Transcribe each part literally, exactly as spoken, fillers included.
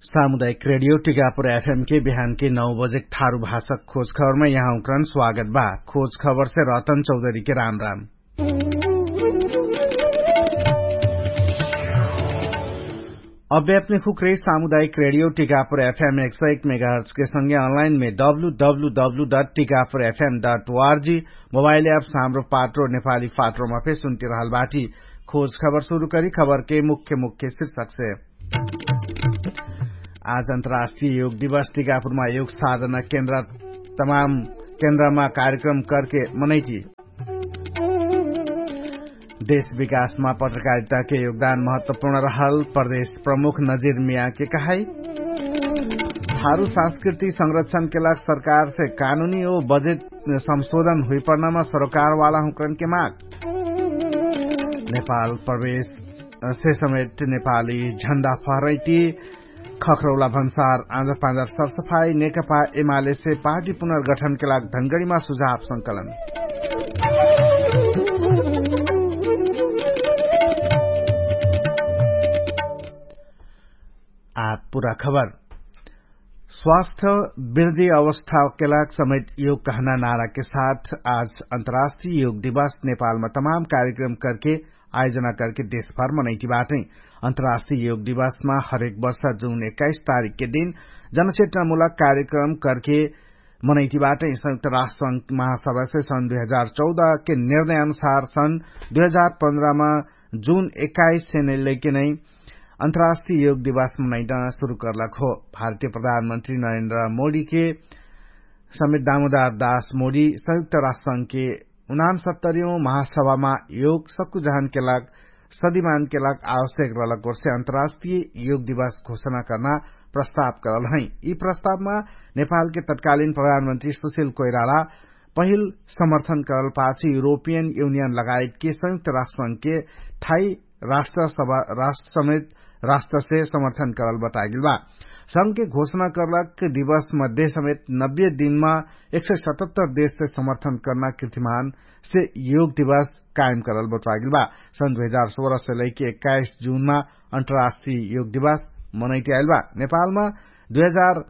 सामुदायिक रेडियो टिकापुर एफएम के बिहान के नौ बजे थारु भाषा खोज खबरमा यहाँ उक्रन स्वागत बा। खोज खबर से रतन चौधरी के राम राम। अभ्यात्मिक हुक्रे सामुदायिक रेडियो टिकापुर एफएम एक सौ एक मेगाहर्ट्स के संगे अनलाइन में W W W dot Tikapur FM dot ORG mobile app साम्रो पात्रो नेपाली पात्रोमा फेर सुन्ति रहल बाटी। खोज खबर सुरु करी खबर के मुख्य मुख्य शीर्षक से। आज अन्तर्राष्ट्रिय योग दिवस टिकापुरमा योग साधना केन्द्र तमाम केन्द्रमा कार्यक्रम करके मनैती। देश विकासमा पत्रकारिताके योगदान महत्वपूर्ण रहल प्रदेश प्रमुख नजिर मियाके कहाई। थारु संस्कृति संरक्षणके लाग सरकारसे कानुनी ओ बजेट संशोधन हुइपर्नामा सरोकारवाला हुँकरनके माग। नेपाल प्रवेश से समेट नेपाली झण्डा फहरैती। खखरौला भन्सार आँजर पाँजर सरसफाई नेकपा एमालेसे पार्टी पुनर्गठनके लाग धनगडीमा सुझाव संकलन। आ पुरा खबर। स्वास्थ्य वृद्धि अवस्थाके लाग समेत योग कहना नाराके साथ आज अन्तर्राष्ट्रिय योग दिवस नेपालमा तमाम कार्यक्रम करके आयोजना करके देशभर मनैती बाटै। अन्तर्राष्ट्रिय योग दिवसमा हरेक वर्ष जुन एक्काइस तारिखके दिन जनचेतनामूलक कार्यक्रम करके मनैती बाटै। संयुक्त राष्ट्र महासभासे सन् दुई हजार चौधके निर्णय अनुसार सन् दुई हजार पन्ध्रमा जुन एक्काइस सेने लैके नै अन्तर्राष्ट्रिय योग दिवस मनैना सुरु करलक हो। भारतीय प्रधानमन्त्री नरेन्द्र मोडीके समेत दामोदार दास मोडी संयुक्त राष्ट्र संघके उनान्सत्तरियौं महासभामा योग सक्कु जहानके लाग सदिमानके लाग आवश्यक रहलक ओर्से अन्तर्राष्ट्रिय योग दिवस घोषणा कर्ना प्रस्ताव करल है। यि प्रस्तावमा नेपालके तत्कालीन प्रधानमन्त्री सुशिल कोइराला पहिल समर्थन करल पाछे युरोपियन युनियन लगायतके संयुक्त राष्ट्र संघके ठाई राष्ट्र समेत राष्ट्रसे समर्थन करल बतागेल बा। संघके घोषणा करलक दिवस मध्य समेत नब्बे दिनमा एक सय सतहत्तर देशसे समर्थन कर्ना कृतिमानसे योग दिवस कायम करल बतागेल बा। सन् दुई हजार सोह्रसे लैके एक्काइस जुनमा अन्तर्राष्ट्रिय योग दिवस मनैति आइल बा। नेपालमा दुई हजार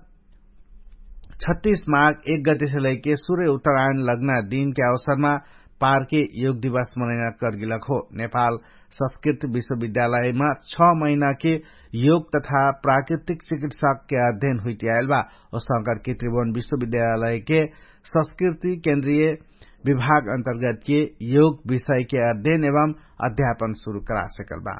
छत्तीस माघ एक गतिसे लैके सुर्य उत्तरायण लग्ना दिनके अवसरमा पारके योग दिवस मनैना कर्गिलक हो। नेपाल संस्कृत विश्वविद्यालयमा छ महिनाके योग तथा प्राकृतिक चिकित्साके अध्ययन हुइति आइल बा। औसंकरके त्रिभुवन विश्वविद्यालयके संस्कृति केन्द्रीय विभाग अन्तर्गतके योग विषयके अध्ययन एवं अध्यापन सुरु करा सकल बा।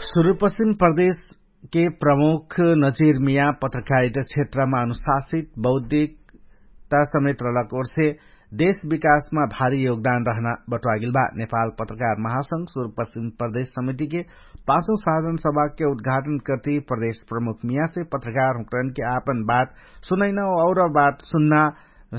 सुरुपश्चिम प्रदेशके प्रमुख नजिरमिया पत्रकारिता क्षेत्रमा अनुशासित बौद्धिकता समेत रहलक ओर्से देश विकासमा भारी योगदान रहना बटुवागेल बा। नेपाल पत्रकार महासंघ सुरुपश्चिम प्रदेश समितिके पाँचौं साधन सभाके उद्घाटन कर्ति प्रदेश प्रमुख मियासे पत्रकार हुँकरनके आपन बात सुनैना और बात सुन्ना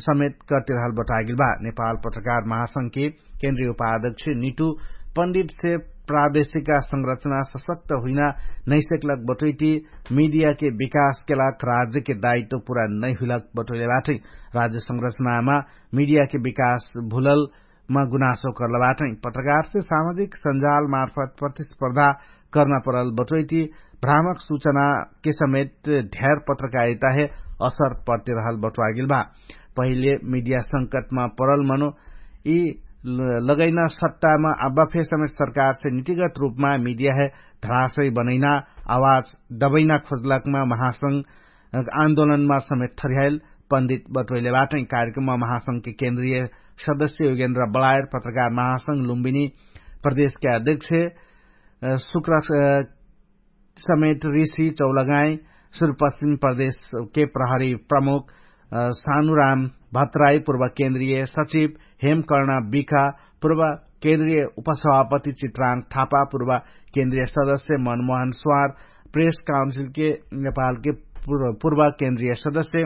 समेत कर्तिरहल बटुवागेल बा। नेपाल पत्रकार महासंघके केन्द्रीय उपाध्यक्ष निटु पण्डितसे प्रादेशिका संरचना सशक्त हुइना नैसेकलक बटुइति मिडियाके विकासके लाग राज्यके दायित्व पुरा नैहुइलक बटुइले बाटै। राज्य संरचनामा मिडियाके विकास भुललमा गुनासो कर्ल बाटै। पत्रकारसे सामाजिक सञ्जालमार्फत प्रतिस्पर्धा कर्ना परल बटोइति भ्रामक सुचनाके समेत ढ्यार पत्रकारिताहे असर पर्तिरहल बटुवागेल बा। पहिले मिडिया संकटमा परल मनो यि लगैना सत्तामा अब्बा फेर समेत सरकारसे नितिगत रूपमा मिडियाहे धरासै बनैना आवाज दबैना खोजलकमा महासंघ आन्दोलनमा समेत थर्याइल पण्डित बटोइले बाटै। कार्यक्रममा महासंघके केन्द्रीय सदस्य योगेन्द्र बलायर पत्रकार महासंघ लुम्बिनी प्रदेशके अध्यक्ष सुक्र समेत ऋषि चौलगाई सुरुपश्चिम प्रदेशके प्रहरी प्रमुख सानुराम भत्राई पूर्व केन्द्रीय सचिव हेमकर्ण बिखा पूर्व केन्द्रीय उपसभापति चित्राङ थापा पूर्व केन्द्रीय सदस्य मनमोहन स्वार प्रेस काउन्सिलके नेपालके पूर्व केन्द्रीय सदस्य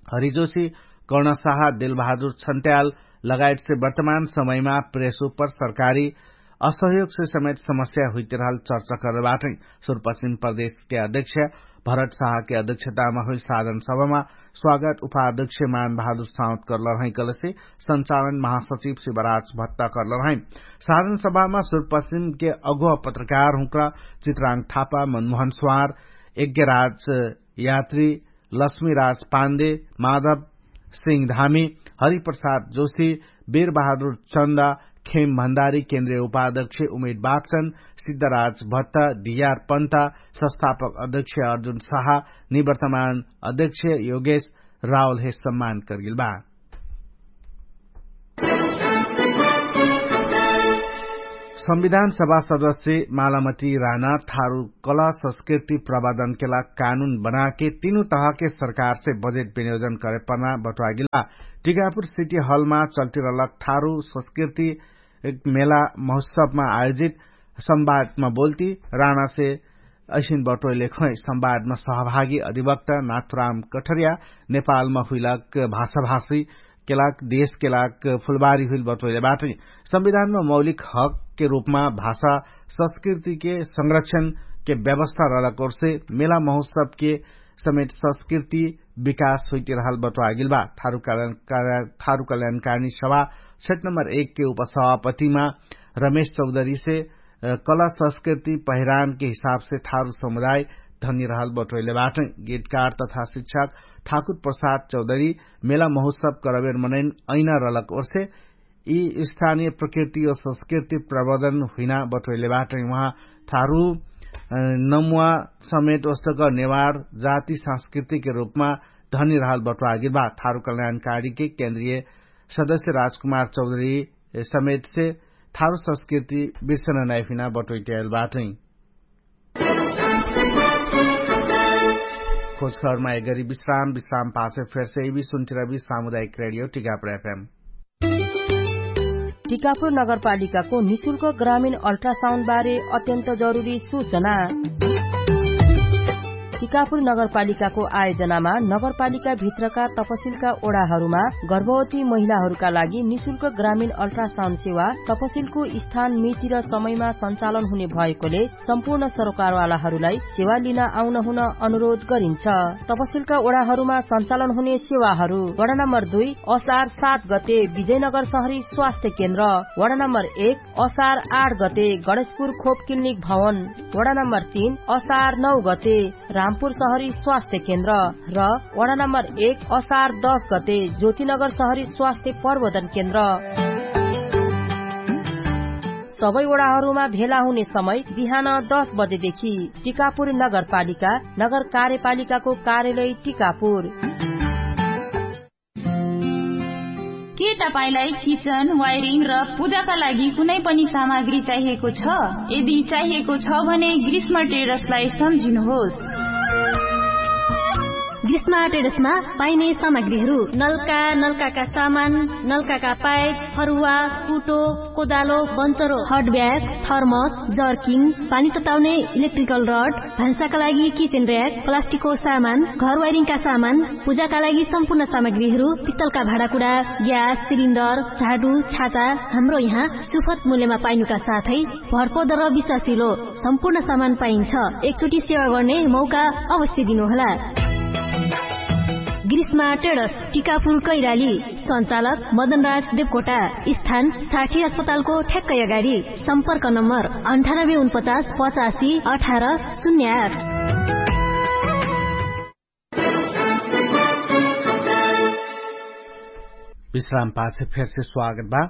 हरिजोशी कर्णशाह दिलबहादुर छन्त्याल लगायतसे वर्तमान समयमा प्रेस उपर सरकारी असहयोगसे समेत समस्या हुइतिरहल चर्चा करल बाटै। सुरपश्चिम प्रदेशके अध्यक्ष भरत साहके अध्यक्षतामा हुइल साधन सभामा स्वागत उपाध्यक्ष मान बहादुर साउत करल रहै कलसे संचालन महासचिव शिवराज भत्ता करल रहै। साधन सभामा सुरपश्चिमके अगुवा पत्रकार हुँक्रा चित्राङ थापा मनमोहन स्वार यज्ञराज यात्री लक्ष्मीराज पाण्डे माधव सिंह धामी हरिप्रसाद जोशी बीरबहादुर चन्दा खेम भण्डारी केन्द्रीय उपाध्यक्ष उमेद बाक्चन सिद्धराज भट्टा डियार पन्ता संस्थापक अध्यक्ष अर्जुन साहा निवर्तमान अध्यक्ष योगेश रावलहे सम्मान करगेल बा। संविधान सभा सदस्य मालामती राना थारु कला संस्कृति प्रवादनके लाग कानुन बनाके तीनु तहके सरकारसे बजेट विनियोजन करेपना बटुवागेल बा। टिकापुर सिटी हलमा चल्टिरहलक थारु संस्कृति मेला महोत्सवमा आयोजित संवादमा बोल्ती राणासे असिन बटोइले खै संवादमा सहभागी अधिवक्ता नाथुराम कठरिया नेपालमा हुइलक भाषाभाषी केलाक देशके लाग फुलबारी हुइल बटोइले बाटै। संविधानमा मौलिक हकके रूपमा भाषा संस्कृतिके संरक्षणके व्यवस्था रहलक ओर्से मेला महोत्सवके समेत संस्कृति विकास हुइतिरहल बटोवागेल बा। थारु कल्याणकारिणी सभा सेट नम्बर एकके उपसभापतिमा रमेश चौधरीसे कला संस्कृति पहिरानके हिसाबसे थारु समुदाय धनिरहल बटोइले बाटै। गीतकार तथा शिक्षक ठाकुर प्रसाद चौधरी मेला महोत्सव करबेर मनैन ऐना रहलक ओर्से यि स्थानीय प्रकृति और संस्कृति प्रबर्धन हुइना बटोइले बाटै। उहाँ थारु नमुवा समेत ओस्तक नेवार जाति संस्कृतिके रूपमा धनिरहल बटोवागेल बा। थारु कल्याणकारिणीके केन्द्रीय सदस्य राजकुमार चौधरी समेतसे थारु संस्कृति बिर्सन नाइफिना बटोइट्याएल बाटै। खोजखबरमा एगरी विश्राम विश्राम पाछे फेरसे इबी सुन्चिरबी सामुदायिक रेडियो टिकापुर एफएम। टिकापुर नगरपालिकाको निशुल्क ग्रामीण अल्ट्रासाउन्ड बारे अत्यन्त जरुरी सूचना। टिकापुर नगरपालिकाको आयोजनामा नगरपालिकाभित्रका तपसिलका ओडाहरूमा गर्भवती महिलाहरूका लागि निशुल्क ग्रामीण अल्ट्रासाउन्ड सेवा तपसिलको स्थान मिति र समयमा सञ्चालन हुने भएकोले सम्पूर्ण सरकारवालाहरूलाई सेवा लिन आउन हुन अनुरोध गरिन्छ। तपसिलका ओडाहरूमा सञ्चालन हुने सेवाहरू वडा नम्बर दुई असार सात गते विजयनगर सहरी स्वास्थ्य केन्द्र, वडा नम्बर एक असार आठ गते गणेशपुर खोप क्लिनिक भवन, वडा नम्बर तीन असार नौ गते रामपुर सहरी स्वास्थ्य केन्द्र र वडा नम्बर एक असार दस गते ज्योतिनगर सहरी स्वास्थ्य प्रबोधन केन्द्र। सबै वडाहरूमा भेला हुने समय बिहान दस बजेदेखि। टिकापुर नगरपालिका, नगर कार्यपालिकाको कार्यालय टिकापुर। के तपाईंलाई किचन वायरिङ र पूजाका लागि कुनै पनि सामग्री चाहिएको छ? यदि चाहिएको छ भने ग्रीष्म ट्रेडर्सलाई सम्झिनुहोस्। ग्रीष्म ट्रेडर्समा पाइने सामग्रीहरू नलका, नलकाका सामान, नलकाका पाइप, फरुवा, कुटो, कोदालो, बन्चरो, हटब्याग, थर्मस, जर्किङ, पानी तताउने इलेक्ट्रिकल रड, भान्साका लागि किचेन र्‍याक, प्लास्टिकको सामान, घर वायरिङका सामान, पूजाका लागि सम्पूर्ण सामग्रीहरू, पित्तलका भाँडाकुँडा, ग्यास सिलिन्डर, झाडु, छाता, हाम्रो यहाँ सुपथ मूल्यमा पाइनुका साथै भरपर्दो र विश्वासिलो सम्पूर्ण सामान पाइन्छ। एकचोटि सेवा गर्ने मौका अवश्य दिनुहोला। ग्रीष्मा ट्रेडर्स, टिकापुर कैराली। सञ्चालक मदनराज देवकोटा। स्थान साठी अस्पतालको ठ्याक्कै अगाडि। सम्पर्क नम्बर अन्ठानब्बे उनपचास पचासी अठार शून्य आठ। विश्राम पाछे फेरसे स्वागत बा।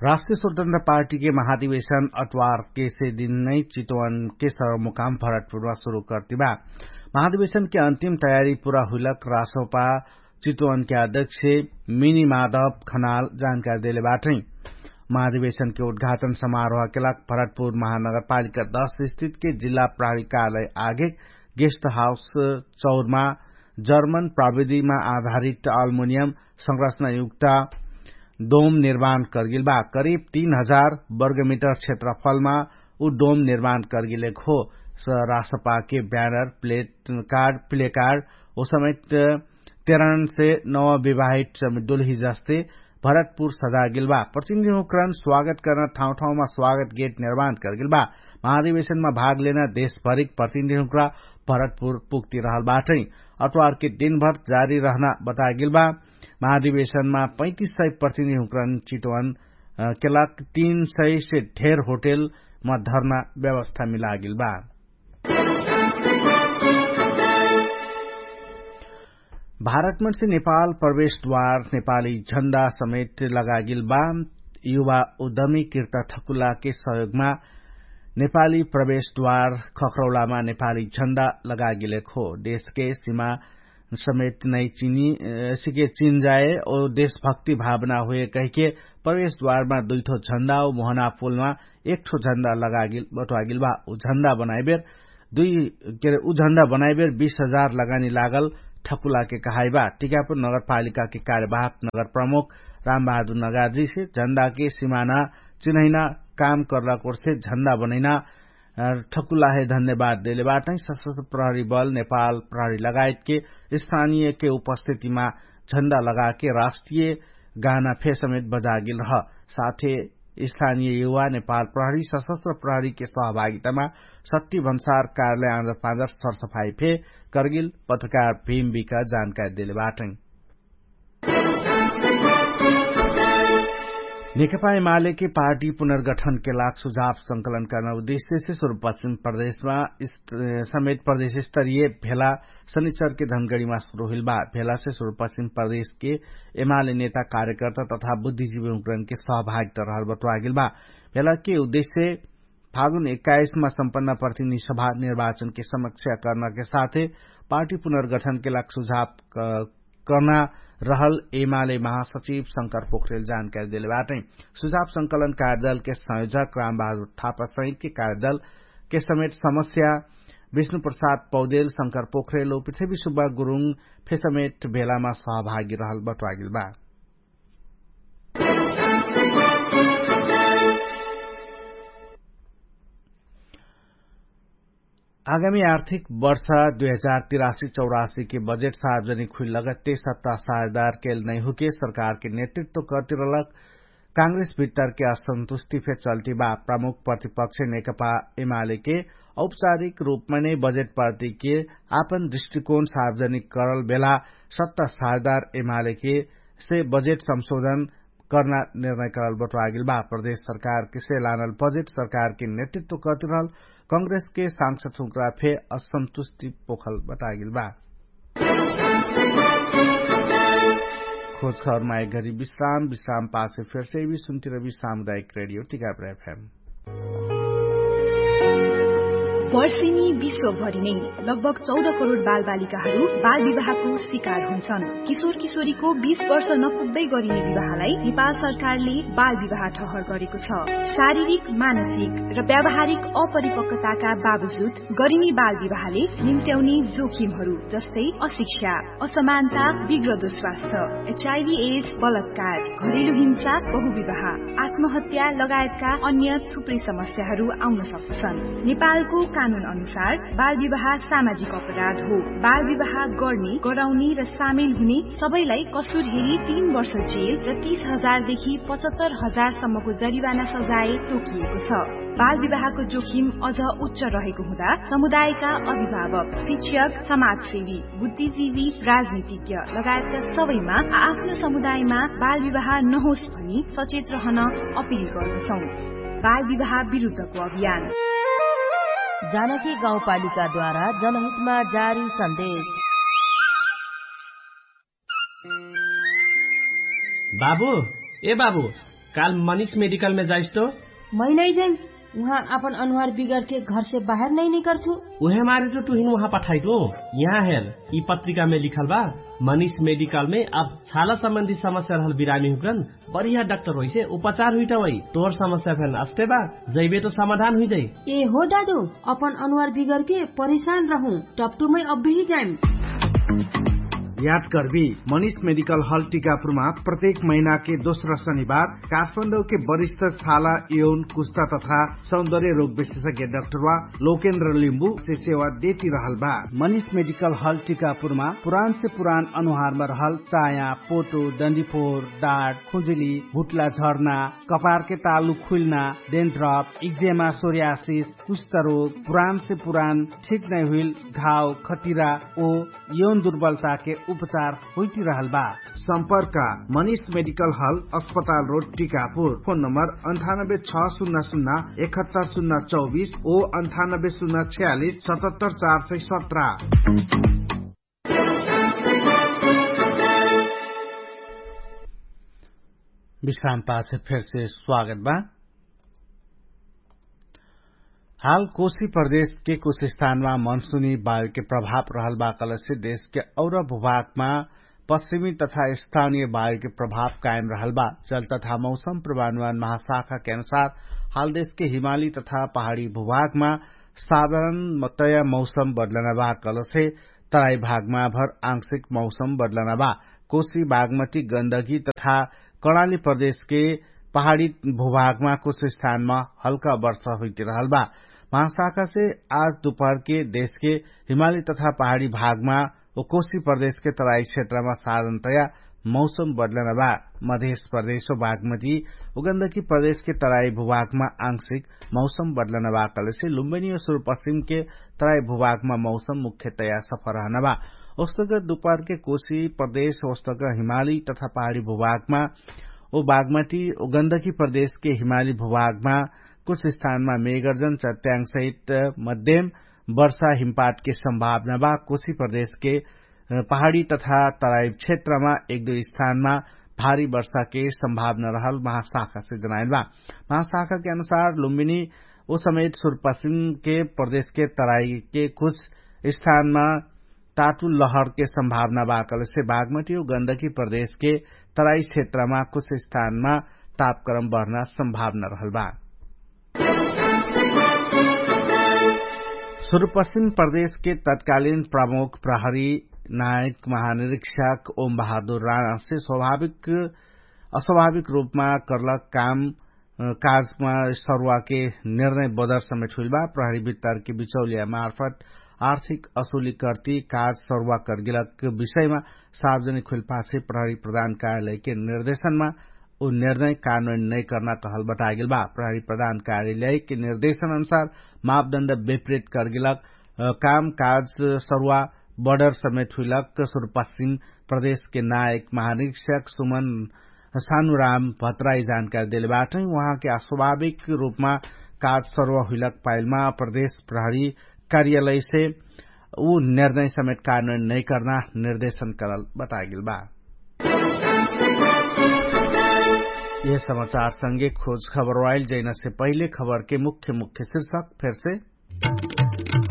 राष्ट्रिय स्वतन्त्र पार्टीके महाधिवेशन अटवारके से दिन नै चितवनके सरमुकाम भरतपुरमा सुरु कर्ति बा। महाधिवेशनके अन्तिम तयारी पुरा हुइलक रासोपा चितवनके अध्यक्ष मिनी माधव खनाल जानकारी देले बाटै। महाधिवेशनके उद्घाटन समारोहके लाग भरतपुर महानगरपालिका दश स्थितके जिल्ला प्राविकालय आगे गेस्ट हाउस चौरमा जर्मन प्रविधिमा आधारित अल्मुनियम संरचनायुक्त डोम निर्माण कर्गिल बा। करिब तीन हजार वर्गमिटर क्षेत्रफलमा उ डोम निर्माण कर्गिलेक हो। रासपाके ब्यानर प्लेट कार्ड प्लेकार्ड ओ समेत तेरानसे नव विवाहित समेत डोलही जस्ते भरतपुर सजागेल बा। प्रतिनिधिहुँकरन स्वागत कर्ना ठाउँ ठाउँमा स्वागत गेट निर्माण करगेल बा। महाधिवेशनमा भाग लेना देशभरिक प्रतिनिधिहुँकरा भरतपुर पुग्ति रहल बाटै। अतवारके दिनभर जारी रहना बतागेल बा। महाधिवेशनमा पैतिस सय प्रतिनिधिहुँकरन चितवन केलाक तीन सय से ढेर होटेल म धर्ना व्यवस्था मिलागेल बा। भारतमनसे नेपाल प्रवेशद्वार नेपाली झण्डा समेट लगागेल बा। युवा उद्यमी किर्ता ठकुलाके सहयोगमा नेपाली प्रवेशद्वार खखरौलामा नेपाली झण्डा लगागेलेक हो। देशके सिमा समेट नै चिनी सिके चिन जाए ओ देशभक्ति भावना हुए कहिके प्रवेशद्वारमा दुइठो झण्डा ओ मोहना पुलमा एकठो झण्डा लगागेल बटुवागेल बा। उ झण्डा बनाइबेर दुई केरे उ झण्डा बनाइबेर बीस हजार लगानी लागल ठकुलाके कहाइबा। टिकापुर नगरपालिकाके कार्यवाहक नगर प्रमुख रामबहादुर नगार्जीसे झण्डाके सिमाना चिन्हैना काम कर्लाकोर्से झण्डा बनैना ठकुलाहे धन्यवाद देले बाटै। सशस्त्र प्रहरी बल नेपाल प्रहरी लगायतके स्थानीयके उपस्थितिमा झण्डा लगाके राष्ट्रिय गाना फेसमेत बजागेल रह। साथे स्थानीय युवा नेपाल प्रहरी सशस्त्र प्रहरीके सहभागितामा सत्ति भन्सार कार्यालय आँजर पाँजर सरसफाई फे करगेल पत्रकार भीम बिका जानकारी देले बाटै। नेकपा एमालेके पार्टी पुनर्गठनके लाग सुझाव संकलन कर्ना उद्देश्यसे सुरुपश्चिम प्रदेशमा समेत प्रदेशस्तरीय भेला सनिचरके धनगढीमा सुरु हुइल बा। भेलासे सुरुपश्चिम प्रदेशके एमाले नेता कार्यकर्ता तथा बुद्धिजीवी हुँकरनके सहभागिता रहल बटुवागेल बा। भेलाके उद्देश्य फागुन एक्काइसमा सम्पन्न प्रतिनिधि सभा निर्वाचनके समीक्षा कर्नाके साथे पार्टी पुनर्गठनके लाग सुझाव कर्ना रहल एमाले महासचिव शंकर पोखरेल जानकारी देले बाटै। सुझाव संकलन कार्यदलके संयोजक रामबहादुर थापा सहितके कार्यदलके समेत समस्या विष्णुप्रसाद पौदेल शंकर पोखरेल ओ पृथ्वी सुब्बा गुरुङ फेसमेट भेलामा सहभागी रहल बटुवागेल बा। आगामी आर्थिक वर्ष दुई हजार तिरासी चौरासी के बजेट सार्वजनिक हुइल लगत्ते सत्ता साझेदार केल नैहुके सरकार के नेतृत्व कर्तिरलक कांग्रेस भित्तर के असन्तुष्टि फे चल्टी बा। प्रमुख प्रतिपक्ष नेकपा एमाले के औपचारिक रूपमा नै बजेट पार्टी के आपन दृष्टिकोण सार्वजनिक करल बेला सत्ता साझेदार एमाले के से बजेट संशोधन कर्ना निर्णय करल बटुवागेल बा। प्रदेश सरकार के से लानल बजेट सरकार के नेतृत्व कर्तिरहल कांग्रेस के सांसद हुँक्रा फे असन्तुष्टि पोखल बटागेल बा। खोज खबर माइक घरी विश्राम विश्राम पाछे फेर्से भी सुन्तिरबी सामुदायिक रेडियो टिकापुर एफएम। वर्षेनी विश्वभरि नै लगभग चौध करोड बालबालिकाहरू बालविवाहको शिकार हुन्छन्। किशोर किशोरीको बीस वर्ष नपुग्दै गरिने विवाहलाई नेपाल सरकारले बालविवाह ठहर गरेको छ। शारीरिक, मानसिक र व्यावहारिक अपरिपक्वताका बावजुद गरिने बालविवाहले निम्ट्याउने जोखिमहरू जस्तै अशिक्षा, असमानता, बिग्रदो स्वास्थ्य, एचआइभी एड्स, बलात्कार, घरेलु हिंसा, बहुविवाह, आत्महत्या लगायतका अन्य थुप्रै समस्याहरू आउन सक्दछन्। नेपालको कानुन अनुसार बालविवाह सामाजिक अपराध हो। बालविवाह गर्ने, गराउने र सामेल हुने सबैलाई कसुर हेरी तीन वर्ष जेल र तीस हजार देखि पचहत्तर हजार सम्मको जरिवाना सजाय तोकिएको छ। बालविवाहको जोखिम अझ उच्च रहेको हुँदा समुदायका अभिभावक, शिक्षक, समाजसेवी, बुद्धिजीवी, राजनीतिज्ञ लगायतका सबैमा आ आफ्नो समुदायमा बालविवाह नहोस् भनी सचेत रहन अपिल गर्दछौँ। बालविवाह विरुद्धको अभियान। जानकी गाउँपालिकाद्वारा जनहितमा जारी सन्देश। बाबु, ए बाबु, काल मनिष मेडिकलमे जाइस्तो? मै नै जैन। उहाँ आपन अनुहार बिगरके घरसे बाहेर नै निकर्छु। उहे मारे त टुहिन उहाँ पठाइदो। यहाँ हेर, यि पत्रिकामे लिखल बा, मनिष मेडिकलमे अब छाला सम्बन्धी समस्या रहल बिरामी हुक्रन बढिया डाक्टर होइसे उपचार हुइटवै। तोहर समस्या फेन अस्ते बा, जैबे त समाधान हुइजै। ए हो दादु, अपन अनुहार बिगरके परिशान रहु, टप्टुमै अब्बेही जाइम। याद कर्बी, मनिष मेडिकल हल टिकापुरमा प्रत्येक महिनाके दोस्रा शनिबार काठमाडौके वरिष्ठ छाला, यौन, कुस्ता तथा सौन्दर्य रोग विशेषज्ञ डाक्टरवा लोकेन्द्र लिम्बु से सेवा देती रहल बा। मनिष मेडिकल हल टिकापुरमा पुरान से पुरान अनुहारमा रहल चाया, पोटो, डन्डीफोर, डाट, खुजुली, भुट्ला झर्ना, कपारके तालु खुइल्ना, डेन्ड्रप, इक्जेमा, सोर्यासिस, कुष्ठरोग, पुरान से पुरान ठिक नै हुइल घाव, खतिरा ओ यौन दुर्बलताके उपचार होइतिरहल बा। सम्पर्क, मनिष मेडिकल हल, अस्पताल रोड, टिकापुर। फोन नम्बर अन्ठानब्बे छ सुन्ना सुन्ना एकहत्तर सुन्ना चौबिस ओ अन्ठानब्बे सुन्ना छ्यालिस सतहत्तर चार सय सत्र। विश्राम पाछ फेरसे स्वागत बा। हाल कोशी प्रदेशके कुछ स्थानमा मनसुनी वायुके प्रभाव रहल बा कहलेसे देशके और भूभागमा पश्चिमी तथा स्थानीय वायुके प्रभाव कायम रहल बा। जल तथा मौसम प्रमाणवान महाशाखाके अनुसार हाल देशके हिमाली तथा पहाडी भूभागमा साधारण मतया मौसम बदलना बा कहलेसे तराई भागमा भर आंशिक मौसम बदलना बा। कोशी, बागमती, गन्दगी तथा कर्णाली प्रदेशके पहाडी भूभागमा कुछ स्थानमा हल्का वर्षा हुइतिरहल बा। महाशाखासे आज दुपहरके देशके हिमाली तथा पहाडी भागमा ओ कोशी प्रदेशके तराई क्षेत्रमा साधारणतया मौसम बदलना बा। मधेश प्रदेश ओ बागमती ओ गन्दगी प्रदेशके तराई भूभागमा आंशिक मौसम बदलना बा कहलेसे लुम्बिनी ओ सुरुपश्चिमके तराई भूभागमा मौसम मुख्यतया सफा रहना बा। ओस्तक दुपहरके कोशी प्रदेश ओस्तक हिमाली तथा पहाडी भूभागमा ओ बागमती ओ गन्दगी प्रदेशके हिमाली भूभागमा कुछ स्थानमा मेगर्जन चट्याङ सहित मध्यम वर्षा हिमपातके सम्भावना बा। कोशी प्रदेशके पहाडी तथा तराई क्षेत्रमा एक दुई स्थानमा भारी वर्षाके सम्भावना रहल महाशाखासे जनाइल बा। महाशाखाके अनुसार लुम्बिनी ओ समेत सुरुपश्चिमके प्रदेशके तराईके कुछ स्थानमा तातु लहरके सम्भावना बा कहलेसे बागमती ओ गन्दगी प्रदेशके तराई क्षेत्रमा कुछ स्थानमा तापक्रम बढ्ना सम्भावना रहल बा। सुरुपश्चिम प्रदेशके तत्कालीन प्रमुख प्रहरी नायक महानिरीक्षक ओम बहादुर राणासे स्वाभाविक अस्वाभाविक रूपमा कर्लक काम काजमा सरुवाके निर्णय बदर समेट हुइल बा। प्रहरी वित्तरके बिचौलिया मार्फत आर्थिक असुली कर्ति काज सरुवा कर्गिलक विषयमा सार्वजनिक हुइल पाछे प्रहरी प्रधान कार्यालयके निर्देशनमा उ निर्णय कानुन नैकर्ना कहल बतागेल बा। प्रहरी प्रधान कार्यालयके निर्देशन अनुसार मापदण्ड विपरीत कर्गिलक काम काज सरुवा बडर समेट हुइलक सुरुपश्चिम प्रदेशके नायक महानिरीक्षक सुमन सानुराम भत्राई जानकारी देले बाटै। उहाँके अस्वाभाविक रूपमा काज सरुवा हुइलक पाइलमा प्रदेश प्रहरी कार्यालयसे उ निर्णय समेट कानुन नैकर्ना निर्देशन करल बतागेल बा। यह समाचार संगे खोज खबर वाइल जैनसे पहिले खबरके मुख्य मुख्य शिर्षक फेरसे।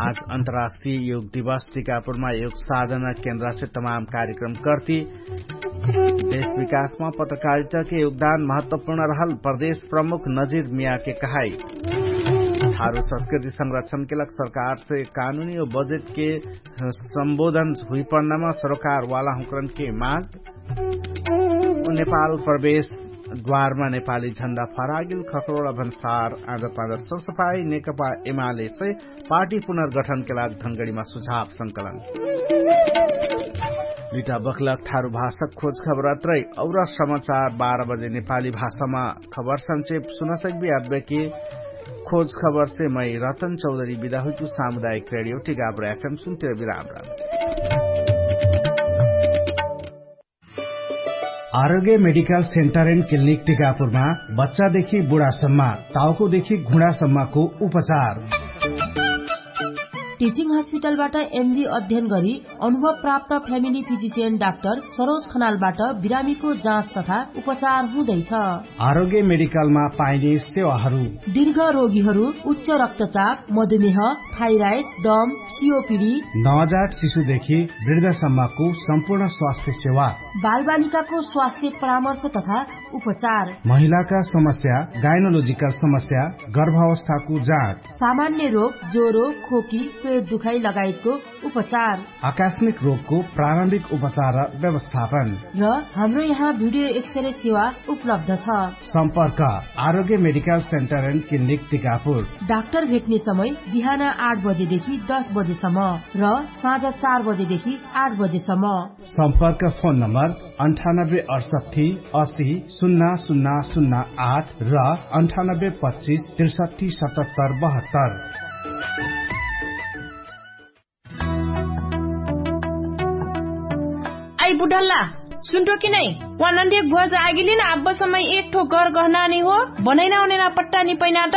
आज अन्तर्राष्ट्रिय योग दिवस टिकापुरमा योग साधना केन्द्रसे तमाम कार्यक्रम कर्ति। देश विकासमा पत्रकारिताके योगदान महत्वपूर्ण रहल प्रदेश प्रमुख नजिर मियाके कहाई। थारु संस्कृति संरक्षणके लग सरकारसे कानुनी ओ बजेटके सम्बोधन हुइपण्डमा सरोकारवाला हुँकरनके माग। नेपाल प्रवेश द्वारमा नेपाली झण्डा फरागिल खखरोडा भन्सार आँजर पाँजर ससफाई नेकपा एमालेसे पार्टी पुनर्गठनके लाग धनगडीमा सुझाव संकलन। लिटा बखलक थारु भाषक खोज खबर अत्रै और समाचार बाह्र बजे नेपाली भाषामा खबर संचेप सुनसकबी आब्बेके। खोज खबरसे मै रतन चौधरी बिदा हुइतु सामुदायिक रेडियो टिकापुर एफएम सुन्तिर बिराम राम। आरोग्य मेडिकल सेन्टर एन्ड क्लिनिक टिकापुरमा बच्चादेखि बुढासम्म, ताउकोदेखि घुँडासम्मको उपचार। टिचिङ हस्पिटलबाट एमडी अध्ययन गरी अनुभव प्राप्त फ्यामिली फिजिसियन डाक्टर सरोज खनालबाट बिरामीको जाँच तथा उपचार हुँदैछ। आरोग्य मेडिकलमा पाइने सेवाहरू। दीर्घ रोगीहरू उच्च रक्तचाप, मधुमेह, थाइराइड, दम, सियोपिडी, नवजात शिशुदेखि वृद्धसम्मको सम्पूर्ण स्वास्थ्य सेवा। बालबालिकाको स्वास्थ्य परामर्श तथा उपचार। महिलाका समस्या, गाइनोलोजिकल समस्या, गर्भावस्थाको जाँच। सामान्य रोग, ज्वरो, खोकी, पेट दुखाइ लगायतको उपचार, आकास्मिक रोगको प्रारम्भिक उपचार र व्यवस्थापन र हाम्रो यहाँ भिडियो एक्सरे सेवा उपलब्ध छ। सम्पर्क Arogya medical centre and clinic Tikapur. Doctor भेट्ने समय बिहान आठ बजेदेखि दस बजेसम्म र साँझ चार बजेदेखि आठ बजेसम्म। सम्पर्क फोन नम्बर अन्ठानब्बे अठसट्ठी असी सुन्ना सुन्ना सुन्ना आठ र अन्ठानब्बे पच्चिस त्रिसट्ठी सतहत्तर बहत्तर। आइ बुढल्ला, सुन्टो कि नै? वा नन्दियक भुवाज आगिलिन आब्बसम्म एक ठो गर गहना नि हो, बनैना ओनैना पट्टा नि पैना त?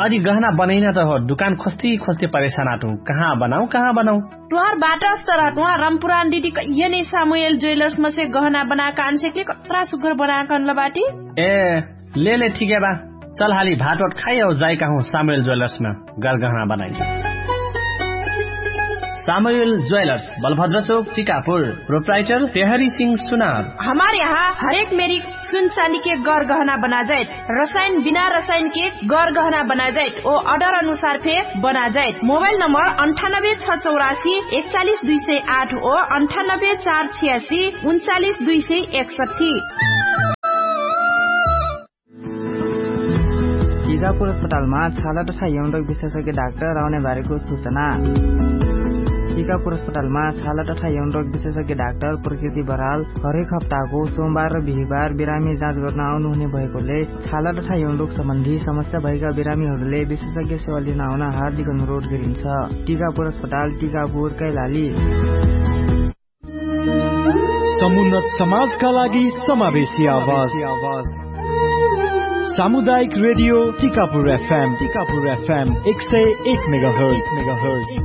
अदि गहना बनैना त हो दुकान खोस्ती खोस्ती परेशान आटु। कहाँ बनाउ कहाँ बनाउ? टुहार बाटस तर टुहार रमपुरान दिदी कहिया नि सामुएल ज्वेलर्स मसे गहना बनाका आन्सेकले कत्रा सुग्घर बनाका अनल बाटी। ए, ले ले ठिके बा। चल हाली भात ओट खाइ औ जाइ कहु सामुएल ज्वेलर्स म गरगहना बनाइ। सामुएल ज्वेलर्स, बलभद्र चोक, टिकापुर। प्रोप्राइटर पेहरी सिंह सुनार। हमार यहाँ हरेक मेरी सुन चाँदी के गरगहना बनाजाइत, रसायन बिना रसायन के गरगहना बनाजाइत ओ अर्डर अनुसार फे बनाजाइत। मोबाइल नम्बर अन्ठानब्बे छ चौरासी एकचालिस दुई सय आठ ओ अन्ठानब्बे चार छियासी उन्चालिस दुई सय एकसट्ठी। टिकापुर अस्पतालमा छाला तथा यौनरोग विशेषज्ञ डाक्टर आउने बारेको सुचना। टिकापुर अस्पतालमा छाला तथा यौनरोग विशेषज्ञ डाक्टर प्रकृति बराल हरेक हप्ताको सोमबार र बिहिबार बिरामी जाँच गर्न आउनुहुने भएकोले छाला तथा यौनरोग सम्बन्धी समस्या भएका बिरामीहरूले विशेषज्ञ सेवा लिन आउन हार्दिक अनुरोध गरिन्छ। टिकापुर अस्पताल, टिकापुर, कैलाली। समुन्नत समाजका लागि समावेशी आवाज। सामुदायिक रेडियो टिकापुर एफएम, टिकापुर एफएम एक सय एक मेगाहर्ट्ज।